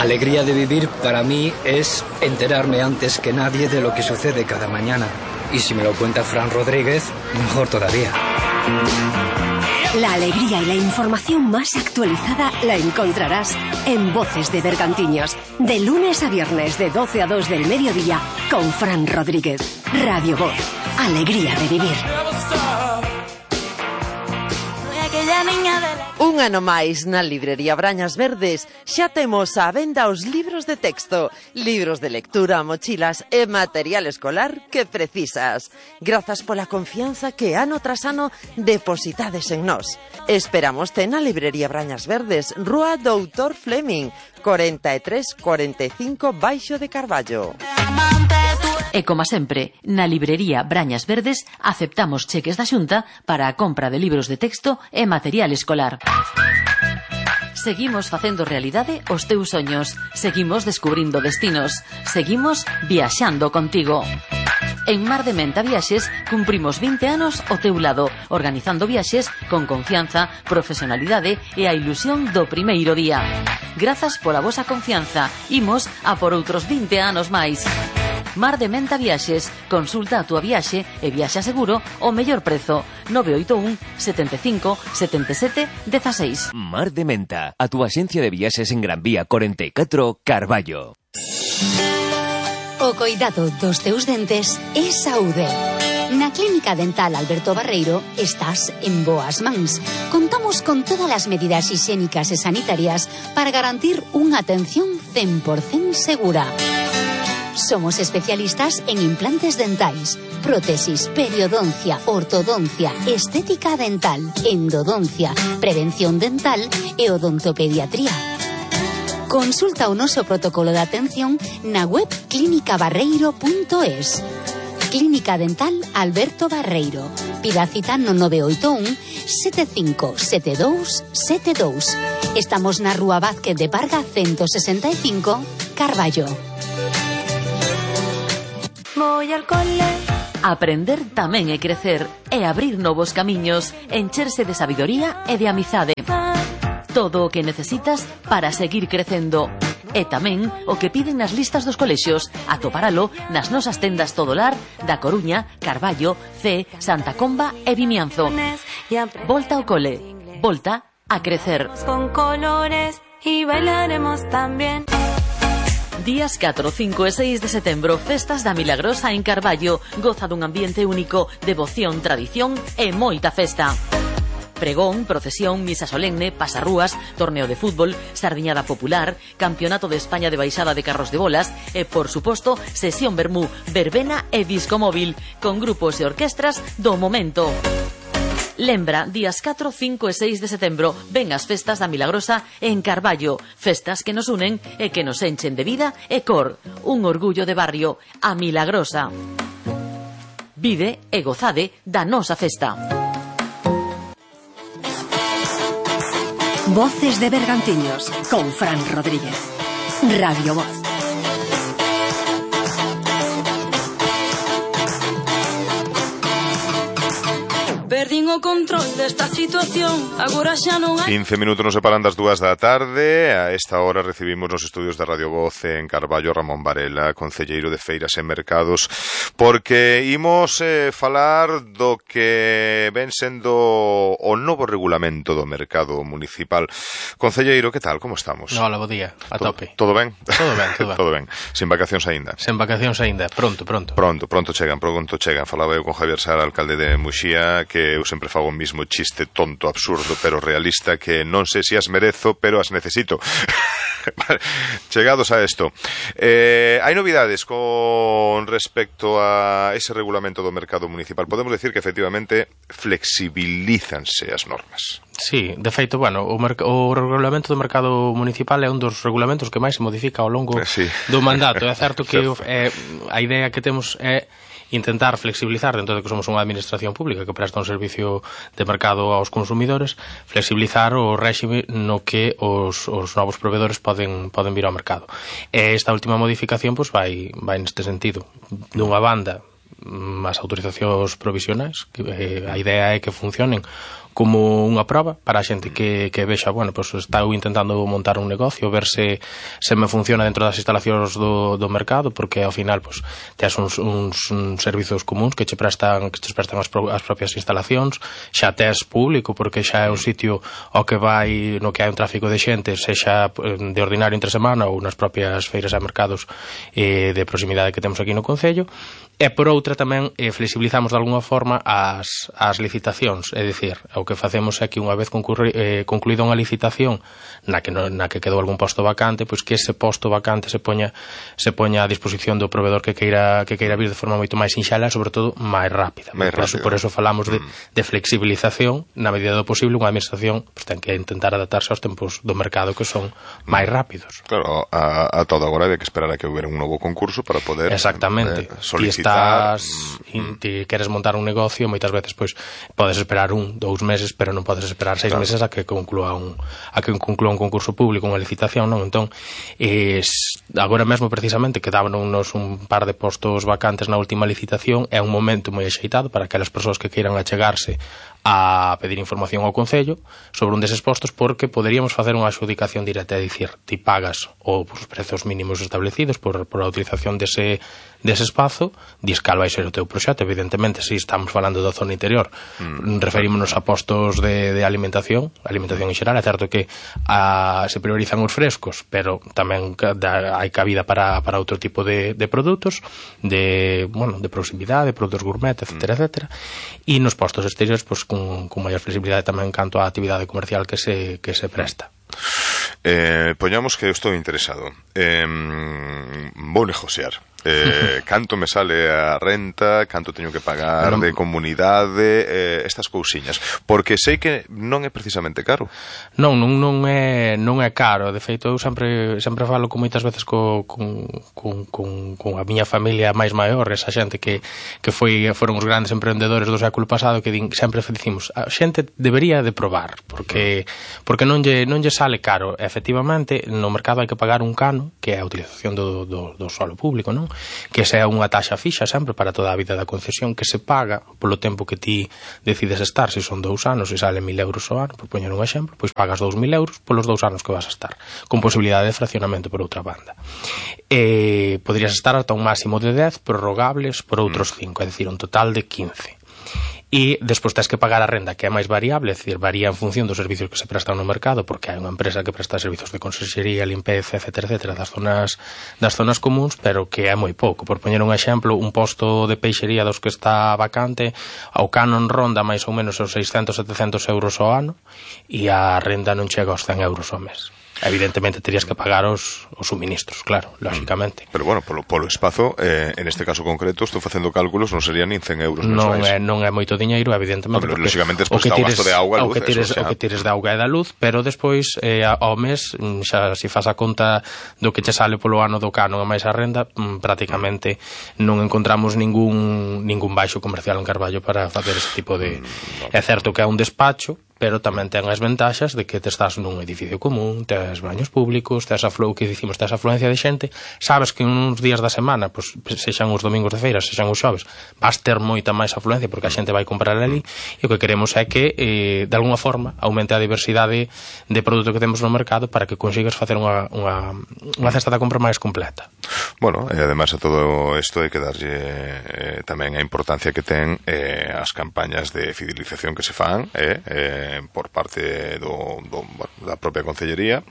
Alegría de vivir para mí es enterarme antes que nadie de lo que sucede cada mañana. Y si me lo cuenta Fran Rodríguez, mejor todavía. La alegría y la información más actualizada la encontrarás en Voces de Bergantiños, de lunes a viernes de 12 a 2 del mediodía con Fran Rodríguez. Radio Voz, alegría de vivir. Un ano máis na librería Brañas Verdes xa temos á venda os libros de texto, libros de lectura, mochilas e material escolar que precisas. Grazas pola confianza que ano tras ano depositades en nós. Esperámoste na librería Brañas Verdes, Rúa Doutor Fleming, 4345 Baixo de Carballo. E como sempre, na librería Brañas Verdes aceptamos cheques da Xunta para a compra de libros de texto e material escolar. Seguimos facendo realidade os teus soños, seguimos descubrindo destinos, seguimos viaxando contigo. En Mar de Menta Viaxes cumprimos 20 anos ao teu lado, organizando viaxes con confianza, profesionalidade e a ilusión do primeiro día. Grazas pola vosa confianza, imos a por outros 20 anos máis. Mar de Menta Viaxes, consulta a túa viaxe e viaxa seguro ao mellor prezo. 981 75 77 16. Mar de Menta, a túa axencia de viaxes en Gran Vía 44, Carballo. O coidado dos teus dentes é saúde. Na Clínica Dental Alberto Barreiro estás en boas mans. Contamos con todas as medidas higiénicas e sanitarias para garantir unha atención 100% segura. Somos especialistas en implantes dentais, prótesis, periodoncia, ortodoncia, estética dental, endodoncia, prevención dental e odontopediatría. Consulta o noso protocolo de atención na web clinicabarreiro.es. Clínica Dental Alberto Barreiro. Pida cita no 981 75 72 72. Estamos na Rúa Vázquez de Parga 165, Carballo. Voy al cole. Aprender tamén é crecer, é abrir novos camiños, encherse de sabidoría e de amizade. Todo o que necesitas para seguir crecendo. E tamén o que piden nas listas dos colexios, atoparalo nas nosas tendas Todolar da Coruña, Carballo, C, Santa Comba e Vimianzo. Volta ao cole, volta a crecer. Con colores y bailaremos también. Días 4, 5 e 6 de setembro, festas da Milagrosa en Carballo. Goza dun ambiente único, devoción, tradición e moita festa. Pregón, procesión, misa solemne, pasarrúas, torneo de fútbol, sardiñada popular, campeonato de España de baixada de carros de bolas e, por suposto, sesión vermú, verbena e disco móvil, con grupos e orquestras do momento. Lembra, días 4, 5 e 6 de setembro, ven as festas da Milagrosa en Carballo, festas que nos unen e que nos enchen de vida e cor. Un orgullo de barrio, a Milagrosa. Vive e gozade da nosa festa. Voces de Bergantiños con Fran Rodríguez. Radio Voz. Perdín o control desta situación, agora xa non hai... 15 minutos nos separan das 2 da tarde. A esta hora recibimos nos estudios de Radio Voz en Carballo Ramón Varela, concelleiro de Feiras e Mercados, porque imos falar do que ven sendo o novo regulamento do mercado municipal. Concelleiro, que tal? Como estamos? Hola, bo día, a tope. Todo ben? Todo ben, todo ben. Todo ben. Sen vacacións aínda? Sen vacacións aínda, pronto. Pronto chegan. Falaba eu con Javier Sara, alcalde de Muxía, que eu sempre fago o mismo chiste tonto, absurdo, pero realista, que non sei se as merezo, pero as necesito. Chegados a esto, hai novidades con respecto a ese regulamento do mercado municipal. Podemos decir que efectivamente flexibilízanse as normas. Sí, de feito, bueno, o regulamento do mercado municipal é un dos regulamentos que máis se modifica ao longo do mandato. É certo que a idea que temos é intentar flexibilizar, dentro de que somos unha administración pública que presta un servicio de mercado aos consumidores, flexibilizar o réxime no que os novos proveedores poden vir ao mercado. E esta última modificación vai neste sentido. Dunha banda, as autorizacións provisionais, a idea é que funcionen como unha prova para a xente que vexa, bueno, pues está intentando montar un negocio, ver se me funciona dentro das instalacións do mercado, porque ao final pues tes uns servizos comuns que che prestan as propias instalacións, xa tes público porque xa é un sitio ao que vai no que hai un tráfico de xente, sexa de ordinario entre semana ou nas propias feiras e mercados de proximidade que temos aquí no concello. E por outra tamén flexibilizamos de alguna forma as licitacións, é dicir, o que facemos é que unha vez concluída unha licitación na que quedou algún posto vacante, pois que ese posto vacante se poña a disposición do proveedor que queira vir de forma moito máis sinxela e sobre todo máis rápida. Por eso falamos de flexibilización, na medida do posible unha administración pues, ten que intentar adaptarse aos tempos do mercado que son máis rápidos. Claro, a todo agora hai que esperar a que houbera un novo concurso para poder solicitar. Ti queres montar un negocio, moitas veces pois podes esperar 1-2 meses, pero non podes esperar 6 meses a que conclúa un concurso público, unha licitación, non? Entón, agora mesmo precisamente quedábanos un par de postos vacantes na última licitación, é un momento moi axeitado para aquelas persoas que queiran achegarse a pedir información ao Concello sobre un deses postos, porque poderíamos facer unha adjudicación directa, é dicir, ti pagas os prezos mínimos establecidos por a utilización dese espazo, dis cal vai ser o teu proxecto. Evidentemente, se estamos falando da zona interior, referímonos a postos de alimentación en xeral. É certo que se priorizan os frescos, pero tamén hai cabida para outro tipo de produtos de proximidade, de produtos gourmet, etc. E nos postos exteriores, pues, con maior flexibilidade tamén canto á actividade comercial que se presta. Poñamos que eu estou interesado, vou negociar. Canto me sale a renta, canto teño que pagar de comunidade, estas cousiñas, porque sei que non é precisamente caro. Non é caro. De feito, eu sempre falo con moitas veces con a miña familia máis maior, esa xente que foron os grandes emprendedores do século pasado, que sempre dicimos, a xente debería de probar, porque non lle sale caro. Efectivamente, no mercado hai que pagar un cano, que é a utilización do solo público, non? Que sea unha taxa fixa sempre para toda a vida da concesión, que se paga polo tempo que ti decides estar. Se son 2 anos e sale 1.000 euros ao ano, por poñer un exemplo, pois pagas 2.000 euros polos 2 anos que vas a estar, con posibilidade de fraccionamento por outra banda. Poderías estar ata un máximo de 10 prorrogables por outros 5, é dicir, un total de 15. E despois tens que pagar a renda, que é máis variable, é dicir, varía en función dos servicios que se prestan no mercado, porque hai unha empresa que presta servicios de conserxería, limpeza, etc. das zonas comuns, pero que é moi pouco. Por poñer un exemplo, un posto de peixería dos que está vacante, ao canon ronda máis ou menos os 600-700 euros ao ano, e a renda non chega aos 100 euros ao mes. Evidentemente terías que pagar os suministros, claro, lógicamente. Pero bueno, polo espazo, en este caso concreto, estou facendo cálculos, non serían nin 100 euros mensuais. Non é moito diñeiro, evidentemente. Pero lógicamente despois está o gasto de auga e luz. O que tires de auga e da luz, pero despois ao mes, xa se faz a conta do que che sale polo ano do canon e máis a renda, prácticamente non encontramos ningún baixo comercial en Carballo para facer ese tipo de... É certo que é un despacho, pero tamén ten as ventaxas de que te estás nun edificio común, tes baños públicos, tes afluencia de xente, sabes que uns días da semana, pues, sexan os domingos de feira, sexan os xoves, vas ter moita máis afluencia porque a xente vai comprar ali, e o que queremos é que, de alguna forma, aumente a diversidade de produto que temos no mercado para que consigas facer unha cesta da compra máis completa. Bueno, e ademais a todo isto hai que darlle tamén a importancia que ten as campañas de fidelización que se fan, por parte da propia Concellería,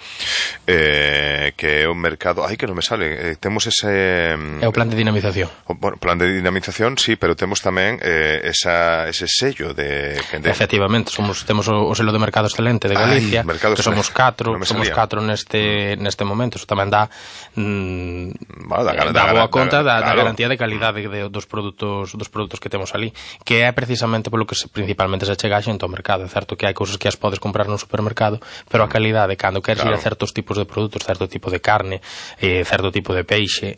que é un mercado... Ai, que non me sale. Temos ese... É o plan de dinamización. Plan de dinamización, sí, pero temos tamén ese sello de... Efectivamente, temos o selo de Mercado Excelente de Galicia, que somos 4 neste momento. Eso tamén dá boa conta da garantía de calidade dos produtos que temos ali, que é precisamente polo que principalmente se chega a xente ao mercado. É certo que hai cousas que as podes comprar no supermercado, pero a calidade, cando queres ir a certos tipos de produtos, certo tipo de carne, certo tipo de peixe,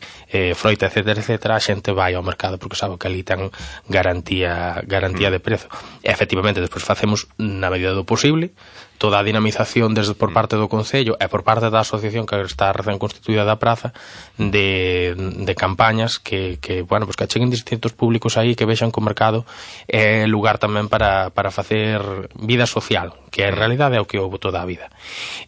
froita, etc., a xente vai ao mercado porque sabe que ali ten garantía de prezo. E, efectivamente, despois facemos, na medida do posible, toda a dinamización desde por parte do Concello e por parte da asociación que está recén constituída da praza de campañas que bueno, pues que acheguen distintos públicos aí, que vexan que o mercado é lugar tamén para facer vida social, que en realidade é o que houve toda a vida.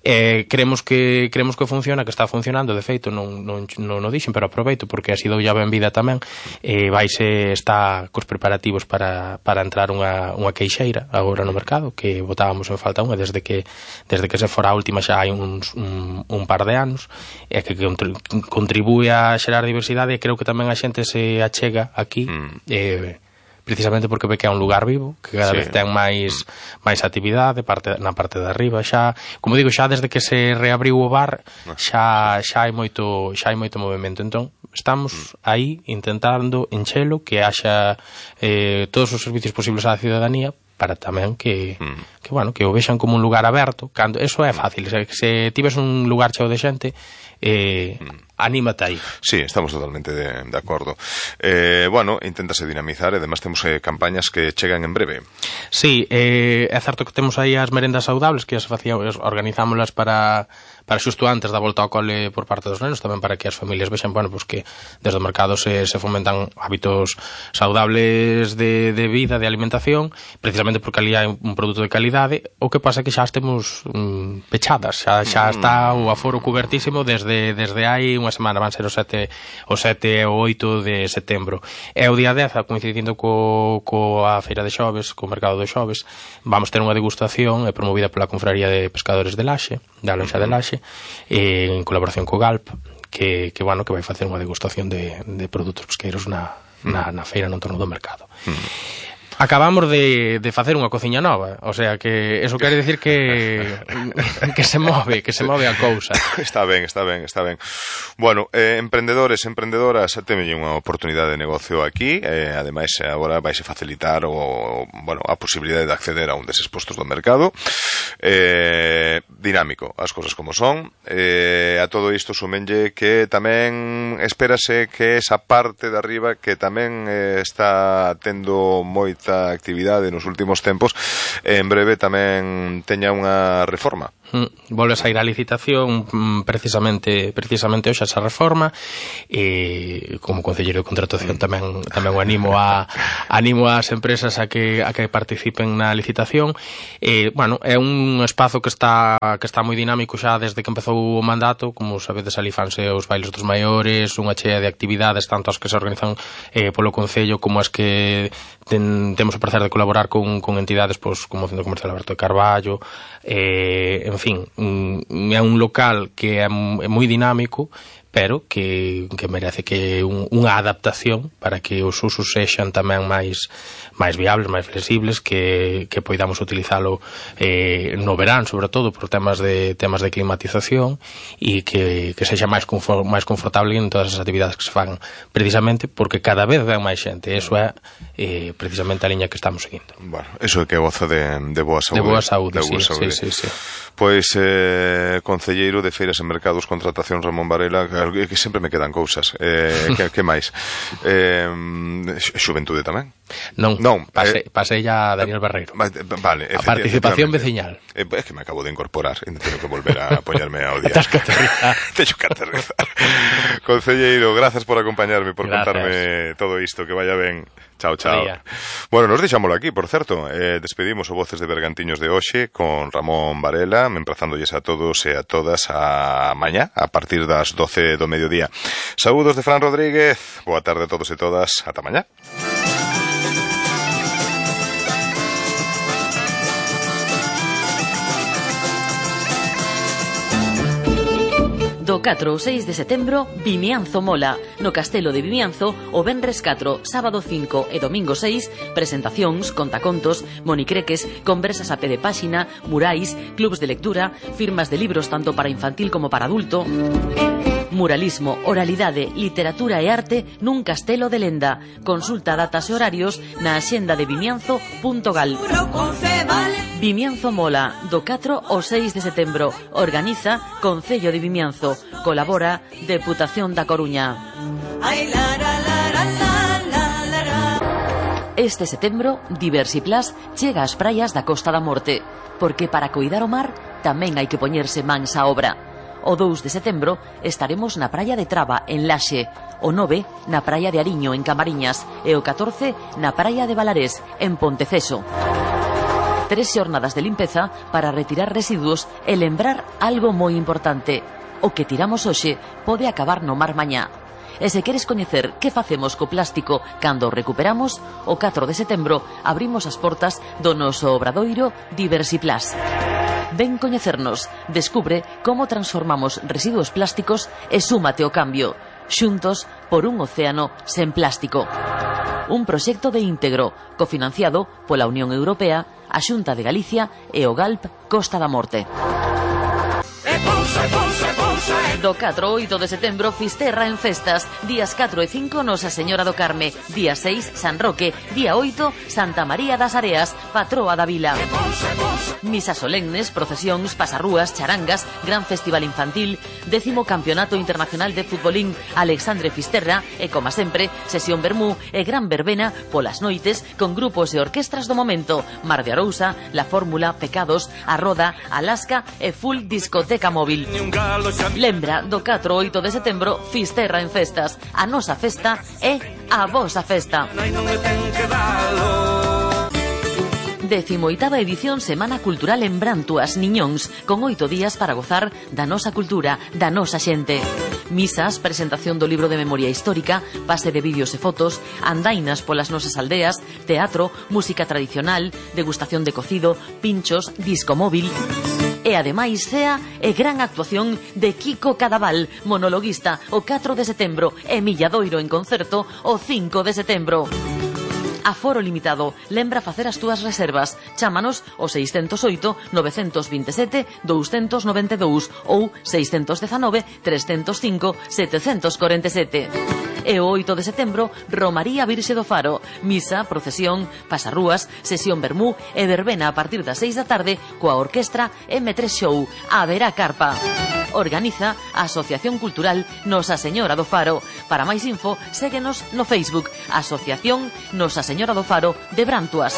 Creemos que funciona, que está funcionando. De feito, non o dixen, pero aproveito porque así dou ya ben vida tamén. Está cos preparativos para entrar unha queixeira agora no mercado, que botábamos en falta unha desde que se fora a última xa hai un par de anos, e que contribúe a xerar diversidade, e creo que tamén a xente se achega aquí precisamente porque ve que é un lugar vivo, que cada vez ten máis actividade na parte de arriba. Xa, como digo, xa desde que se reabriu o bar xa hai moito movimento. Entón estamos aí intentando enchelo, que haxa todos os servicios posibles á ciudadanía, para tamén que o vexan como un lugar aberto. Cando eso é fácil, se tives un lugar cheo de xente, anímate aí. Sí, estamos totalmente de acordo. Inténtase dinamizar, e además temos campañas que chegan en breve. Sí, é certo que temos aí as merendas saudables, que organizámolas para xusto antes da volta ao cole por parte dos nenos, tamén para que as familias vexan, que desde o mercado se fomentan hábitos saudables de vida, de alimentación, precisamente porque ali hai un produto de calidade. O que pasa é que xa estemos pechadas, xa está o aforo cubertísimo desde hai unha semana, van ser o 7 e o 8 de setembro. E o día 10, coincidindo coa feira de xoves, co mercado de xoves, vamos ter unha degustación promovida pola Confraría de Pescadores de Laxe, da Lonxa de Laxe, en colaboración co GALP, que vai facer unha degustación de produtos pesqueiros na feira no entorno do mercado. Acabamos de facer unha cociña nova, o sea que eso quere decir que se move a cousa. Está ben. Bueno, emprendedores, emprendedoras, temen unha oportunidade de negocio aquí, ademais agora vaise facilitar a posibilidade de acceder a un deses postos do mercado. Dinámico, as cousas como son. A todo isto sumenlle que tamén espérase que esa parte de arriba que tamén está tendo moita actividade nos últimos tempos, en breve tamén teña unha reforma. Volve a sair a licitación precisamente hoxe esa reforma, e como concelleiro de contratación tamén o animo ás empresas a que participen na licitación. É un espazo que está moi dinámico xa desde que empezou o mandato. Como sabedes, ali fanse os bailes dos maiores, unha chea de actividades, tanto as que se organizan polo Concello como as que temos o prazer de colaborar con entidades como o Centro Comercial Alberto de Carballo. En fin, é un local que é moi dinámico, pero que merece que unha adaptación para que os usos sexan tamén máis viables, máis flexibles, que poidamos utilizalo no verán, sobre todo por temas de climatización, e que sexa máis confortable en todas as actividades que se fan, precisamente porque cada vez ven máis xente. Eso é precisamente a liña que estamos seguindo. Bueno, eso é que goza de boa saúde. De boa saúde, sí. Pois, concelleiro de Feiras e Mercados, Contratación, Ramón Varela, que sempre me quedan cousas. Que máis? Xuventude tamén? Non, pasei a Daniel Barreiro. Vale, a participación veciñal. É que me acabo de incorporar e teño que volver a poñerme ao día. Teño que aterrizar. Concelleiro, grazas por acompañarme, por contarme todo isto, que vaya ben. Chao. Bueno, nos deixámoslo aquí, por certo. Despedimos o Voces de Bergantiños de hoxe con Ramón Varela, emprazándoles a todos e a todas a mañá, a partir das 12 do mediodía. Saúdos de Fran Rodríguez, boa tarde a todos e todas, ata mañá. Do 4 ao 6 de setembro, Vimianzo Mola. No Castelo de Vimianzo, o venres 4, sábado 5 e domingo 6, presentacións, contacontos, monicreques, conversas a pé de páxina, murais, clubs de lectura, firmas de libros tanto para infantil como para adulto. Muralismo, oralidade, literatura e arte nun castelo de lenda. Consulta datas e horarios na axenda de vimianzo.gal. Vimianzo Mola, do 4 ao 6 de setembro. Organiza Concello de Vimianzo. Colabora Deputación da Coruña. Este setembro, Diversiplus chega ás praias da Costa da Morte, porque para coidar o mar tamén hai que poñerse mans á obra. O 2 de setembro estaremos na praia de Traba, en Laxe, o 9 na praia de Ariño, en Camariñas, e o 14 na praia de Valarés, en Ponteceso. 3 xornadas de limpeza para retirar residuos e lembrar algo moi importante: o que tiramos hoxe pode acabar no mar mañá. E se queres coñecer que facemos co plástico cando o recuperamos, o 4 de setembro abrimos as portas do noso obradoiro Diversiplus. Ven coñecernos, descubre como transformamos residuos plásticos e súmate ao cambio. Xuntos por un océano sen plástico. Un proxecto de íntegro, cofinanciado pola Unión Europea, a Xunta de Galicia e o GALP Costa da Morte. Do 4 ao 8 de setembro, Fisterra en festas. Días 4 e 5, Nosa Señora do Carme. Día 6, San Roque. Día 8, Santa María das Areas, patroa da vila. Misas solemnes, procesións, pasarrúas, charangas, gran festival infantil, 10º Campeonato Internacional de Futbolín Alexandre Fisterra e, como sempre, sesión vermú e gran verbena polas noites con grupos e orquestras do momento: Mar de Arousa, La Fórmula, Pecados, A Roda, Alaska e full discoteca móvil. Lembra, do 4 ao 8 de setembro, Fisterra en festas. A nosa festa é a vosa festa. 18ª edición Semana Cultural en Brantuas, Niñóns, con 8 días para gozar da nosa cultura, da nosa xente. Misas, presentación do libro de memoria histórica, pase de vídeos e fotos, andainas polas nosas aldeas, teatro, música tradicional, degustación de cocido, pinchos, disco móvil. E ademais cea e gran actuación de Kiko Cadaval, monologuista, o 4 de setembro, e Milladoiro en concerto o 5 de setembro. Aforo limitado. Lembra facer as túas reservas. Chámanos o 608 927 292 ou 619 305 747. E o 8 de setembro, Romaría Virxe do Faro. Misa, procesión, pasarrúas, sesión vermú e verbena a partir das 6 da tarde coa orquestra M3 Show. Haberá carpa. Organiza a Asociación Cultural Nosa Señora do Faro. Para máis info, séguenos no Facebook, Asociación Nosa Señora do Faro de Brantuas.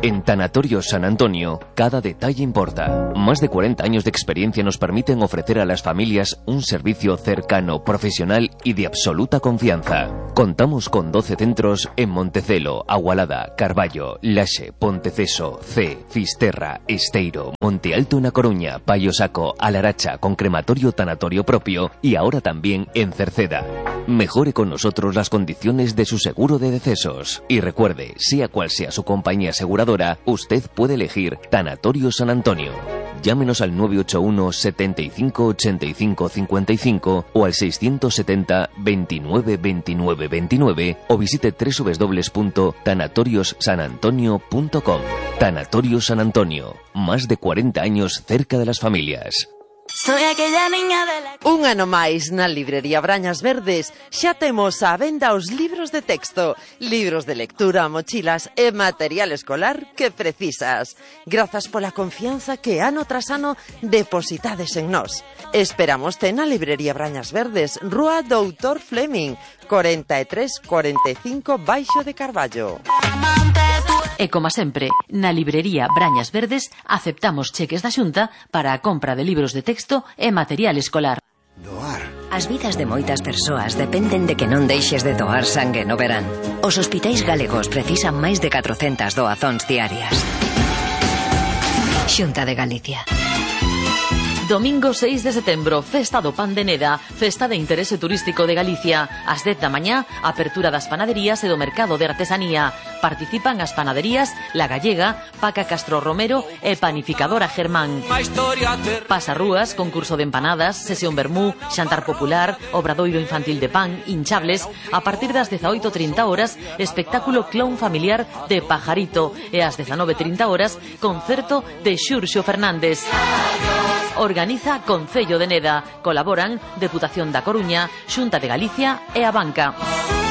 En Tanatorio San Antonio, cada detalle importa. Más de 40 años de experiencia nos permiten ofrecer a las familias un servicio cercano, profesional y de absoluta confianza. Contamos con 12 centros en Montecelo, Agualada, Carballo, Laxe, Ponteceso, C, Fisterra, Esteiro, Monte Alto en A Coruña, Paio Saco, Alaracha, con crematorio tanatorio propio y ahora también en Cerceda. Mejore con nosotros las condiciones de su seguro de decesos. Y recuerde, sea cual sea su compañía aseguradora, usted puede elegir Tanatorio San Antonio. Llámenos al 981 75 85 55 o al 670 29 29 29 o visite www.tanatoriossanantonio.com. Tanatorio San Antonio, más de 40 años cerca de las familias. Soy aquella niña de la... Un ano máis na librería Brañas Verdes xa temos á venda os libros de texto, libros de lectura, mochilas e material escolar que precisas. Grazas pola confianza que ano tras ano depositades en nós. Esperámoste na librería Brañas Verdes, Rúa Doutor Fleming, 43 45 Baixo de Carballo. E como sempre, na librería Brañas Verdes aceptamos cheques da Xunta para a compra de libros de texto e material escolar. Doar. As vidas de moitas persoas dependen de que non deixes de doar sangue no verán. Os hospitais galegos precisan máis de 400 doazóns diarias. Xunta de Galicia. Domingo 6 de setembro, Festa do Pan de Neda, festa de interese turístico de Galicia. Ás 10 da mañá, apertura das panaderías e do mercado de artesanía. Participan as panaderías La Gallega, Paca Castro Romero e Panificadora Germán. Pasarrúas, concurso de empanadas, sesión vermú, xantar popular, obradoiro infantil de pan, hinchables. A partir das 18:30 horas, espectáculo clown familiar de Pajarito. E ás 19:30 horas, concerto de Xurxo Fernández. Organiza Concello de Neda. Colaboran Deputación da Coruña, Xunta de Galicia e a Banca.